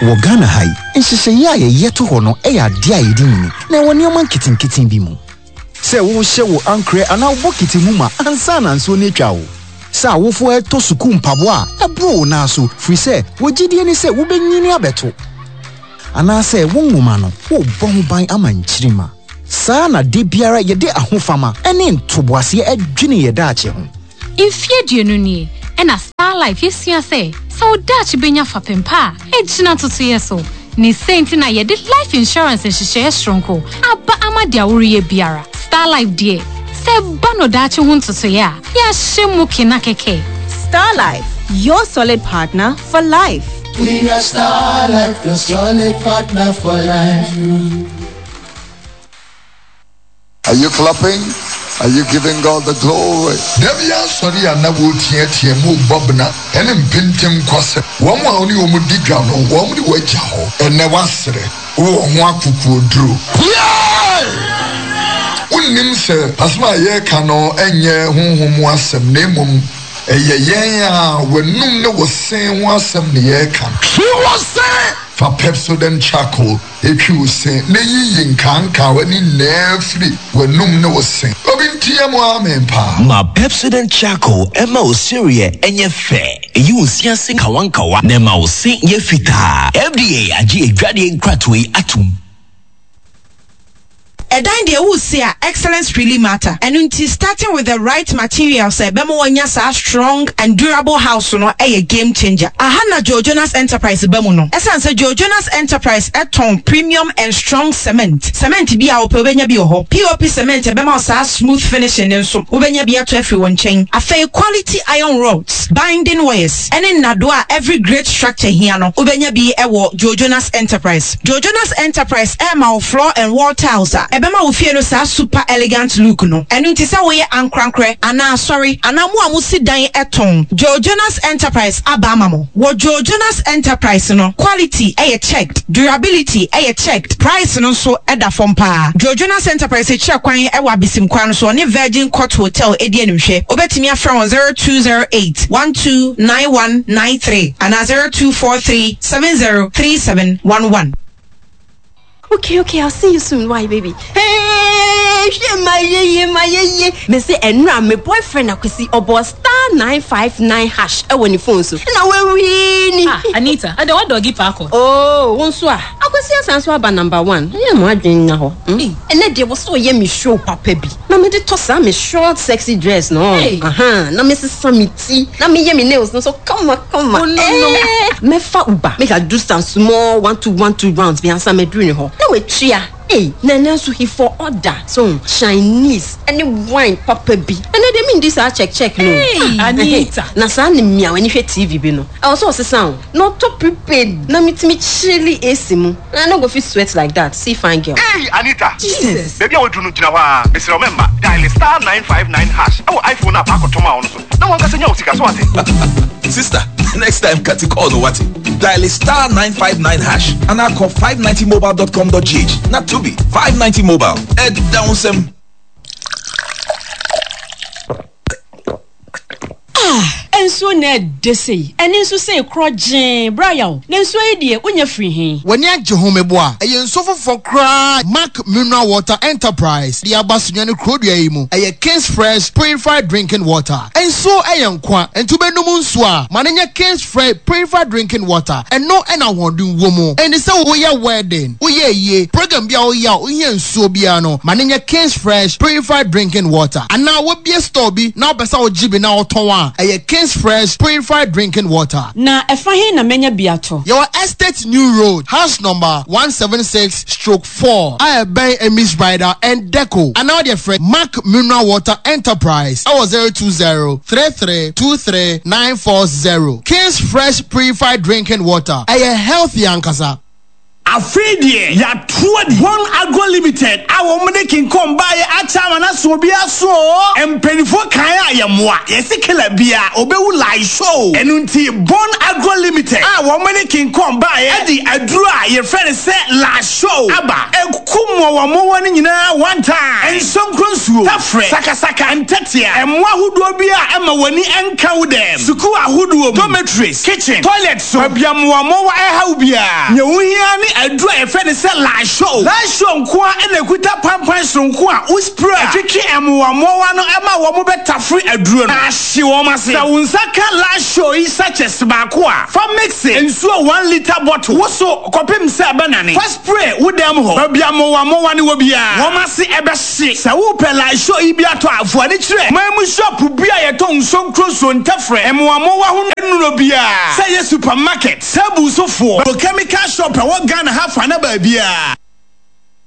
Wɔ Ghana ha yi, nhyehyɛeɛ a yɛyɛ to hɔ no yɛ adeɛ a yɛdi nyini, na ɛwɔ nneɛma nketenkete bi mu. Sɛ wohyɛ wo ankorɛ anaa wo bokiti mu ma ansa na nsuo no atwa wo. Sɛ awofoɔ retɔ sukuu mpaboa a ɛboro wo nan so firi sɛ wɔ gyidie ne sɛ wobɛnyini abɛto. Anaasɛ wo nwoma no, worebɔ ho ban ama nkyirimma. Saa na da biara yɛde ahofama ne ntoboaseɛ dwene yɛn daakye ho. Mfeɛ aduonu nie na Star Life yɛsua sɛ, sɛ wo daakye bɛnya fapem pa a, ɛgyina ntotoeɛ so. Ne sei nti na yɛde life insurance nhyehyɛeɛ soronko aba ama deɛ woreyɛ biara. Star Life deɛ, sɛ ɛba no daakye ho ntotoeɛ a, yɛahyɛ mu kena kɛkɛ. Star Life, your solid partner for life. We are Star Life, your solid partner for life. Are you clapping? Are you giving God the glory? Da bi asɔre a na wɔreteatea mu rebɔ bena ne mpentenkwasɛm. Wɔn a wo ne wɔn di dwa no, wɔde wo agya hɔ. Ɛnnɛ woasrɛ, wowɔ ho akokoɔduro. Yay! Wonnim sɛ asɛm a yɛreka no nyɛ honhom mu asɛm, na mmom ɛyɛ yɛn a w'anum ne wo se ho asɛm na yɛreka. Twi wo se! Fa Pepsodent Charcoal Twi wo se na yiyi nkaankawa no nyinaa firi w'anum ne wo se. Obi nteɛ mu amen paa. Ma Pepsodent Charcoal mma wo sereɛ nyɛ fɛ, ɛyi wo se ase nkawankawa na ɛma wo se yɛ fitaa. FDA agye adwadeɛ nkratoɔ yi atom. Ɛdan deɛ woresi a excellence really matter ɛno nti starting with the right materials a ɛbɛma wanya saa strong and durable house no yɛ game changer. Aha na Joe Jonas Enterprise ba mu no. Ɛsiane sɛ Joe Jonas Enterprise tɔn premium and strong cement, cement biara a wopɛ wobɛnya bi wɔ hɔ, POP cement a ɛbɛma wo saa smooth finishing no nso wobɛnya bi atɔ afiri wɔn nkyɛn. Afei quality iron rods, binding wires, ne nnadoa a every great structure hia no wobɛnya bi wɔ Joe Jonas Enterprise. Joe Jonas Enterprise rema wo floor and wall tiles a ɛbɛma wo fie no saa super elegant look no. Ɛno nti sɛ woyɛ ankorankorɛ anaa asɔre anaa mo a mosi dan tɔn, Joe Jonas Enterprise aba ama mo. Wɔ Joe Jonas Enterprise no, quality yɛ checked, durability yɛ checked, price no nso da fam paa. Joe Jonas Enterprise kyerɛ kwan wɔ Abesim kwan no so, ɔne Virgin Court Hotel di animhwɛ. Wobɛtumi afrɛ wɔn 0208 129193 anaa 0243 703711. Okay, okay, I'll see you soon. Why, baby? Hey, hwɛ ma yeye, ma yeye. Me se ɛnura me boyfriend akwasi ɔbɔ star 959 hash ɛwɔ ne phone so. Na wawini. Ah, Anita, ɛdɛ wa dɔgi paakɔ. Oh, wo nso a. Akwasi asan so aba number one. Ɛyɛ mo adwene nya hɔ. Hmm? Ɛnɛ deɛ wɔ sɛ ɔyɛ me show papa bi. Na me de tɔ saa me short sexy dress no. Hey. Aha, na me sesa me ti. Na me yɛ me nails no so kama kama. Oh, no, no. Eh, mɛfa Uber. Make I do some small 1 2 1 2 rounds bi ansa mɛduru ne hɔ. Na watua. Hey, na ɛnɛ nso he for order. So Chinese ɛne wine papa bi. Ɛnɛ deɛ mendi saa check check no. Hey, Ah, Anita. Na saa ne mmea w'ani hwɛ TV bi no. Ɛwɔ sɛ ɔsesa o. Na ɔtɔ prepaid na metumi chilli AC mu. Na I no go fit sweat like that. See fine girl. Hey Anita! Jesus! Baabi a waduru no gyina hɔ ara. Mesrɛ wo mɛmma. Dial *959# ɛwɔ iPhone no a paakɔtɔ maa wo no so na wankasa nya wo sika so ate. Sister, next time cut call no what? Dial *959# and I call 590mobile.com.gh. Not to be 590 mobile. Ed down some. Ah! Nsuo na ɛdɛ sei, ɛne nso sei korɔgyee, bra yaw, na nsuo yi deɛ wonya firi he? W'ani agye ho meboa? Ɛyɛ nsuo foforɔ koraa Mac Mineral Water Enterprise de aba Sunyani kurodua yi mu. Ɛyɛ King's Fresh Purified Drinking Water. Nsuo yɛ nkwa, enti wobɛnom nsuo a, ma no nyɛ King's Fresh Purified Drinking Water. Ɛno na ahoɔden wɔ mu. Enti sɛ woyɛ wedding, woyɛ ayie, program bi a woyɛ a wohia nsuo biara no, ma no nyɛ King's Fresh Purified Drinking Water. Anaa wobue store bi na wopɛ sɛ wogye bi na wotɔn a, ɛyɛ King's Fresh Purified Drinking Water. Na ɛfa he na mɛnya bi atɔ? Yɛwɔ Estate New Road, house number 176/4 a ɛbɛn Emmy's Bridal and Deco. Anaa wodeɛ frɛ Mac Mineral Water Enterprise ɛwɔ 020 33 23 940. King's Fresh Purified Drinking Water, ɛyɛ healthy ankasa. Afei deɛ yɛato adi. Bon Agro Limited a wɔn de King Kong baeɛ akyɛ ama no aso obiara so oo. Mpaninfoɔ kae a yɛmmoa. Yɛse killer biara ɔbɛwu lie show. Ɛno nti Bon Agro Limited a wɔn de King Kong baeɛ de aduro a yɛfrɛ no sɛ lie show aba. Ɛku mmoawammoawa no nyinaa one time. Nsonkro nsuo, tafrɛ, sakasaka, ntɛtea, mmoa ahodoɔ biara a ɛma w'ani nka wo dɛm, sukuu ahodoɔ mu, dormitories, kitchen, toilet, So baabi a mmoawammoawa rehaw biara, nea wohia ara ne aduru a yɛfrɛ no sɛ Lysol. Lysol nko ara na ekuta pampan soronko a wo spray a, ɛtwetwe mmoawammoawa no ma wɔbɛtafere aduro no na ahye wɔn ase. Sɛ wo nsa ka Lysol yi sachets baako a, fa mixe nsuo one litre bottle woso kɔpem sɛ ɛbɛnane. Fa spray wo dan mu hɔ, baabi a mmoawammoawa no wɔ biara, wɔn ase bɛhye. Sɛ wopɛ Lysol yi bi atɔ a, fa ani kyerɛ man mu shop bi a yɛtɔn nsuo nkuro nsuo, ntɛfrɛ, mmoammoawa ho nnuro biara, sɛ ɛyɛ supermarket, table so foɔ, chemical shop ɛwɔ Ghana ha fa na baabiara.